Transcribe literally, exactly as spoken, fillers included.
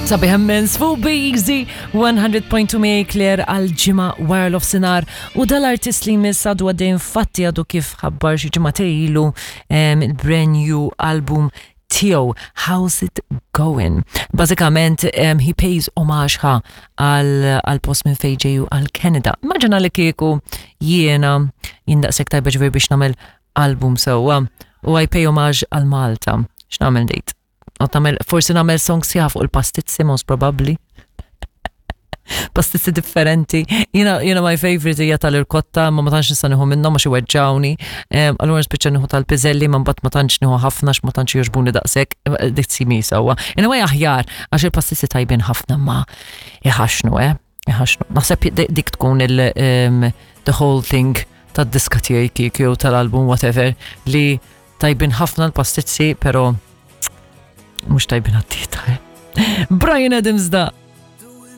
Sabiħ immens fuq Easy one hundred point two me Claire għal ġimgħa wara nofsinhar u dal-artist li jmiss għadu għaddej, infatti għadu kif ħabbar xi ġimgħa ilu il-brand new album tiegħu, How's It Going. Bażikament um, he pays homage ħa għal post minn fejn ġej, għal Canada. Immaġina li kieku jiena jien daqshekk tajba, ġifieri, biex nagħmel album sewwa u I pay homage għal Malta. X'nagħmel dejt? Nagħmel, forsi nagħmel song sħiħa fuq il-pastizzi, most probably. Pastizzi differenti. Jiena, jiena my favorite hija tal-irkotta, ma ma tantx nista' nieħu minnhom għax iweġġawni. Allura nispiċċa nieħu tal-piżelli, ma mbagħad ma tantx nieħu ħafna għax ma tantx jogħġbuni daqshekk. Dik simi sewwa. In a way aħjar, għax il-pastizzi tajbin ħafna ma iħaxnu, eh? Iħaxnu. Naħseb dik tkun il the whole thing tad-diska tiegħi kieku jew tal-album, whatever, li tajbin ħafna l-pastizzi, pero mhux tajbin għad-dieta. Eh? Bryan Adams da.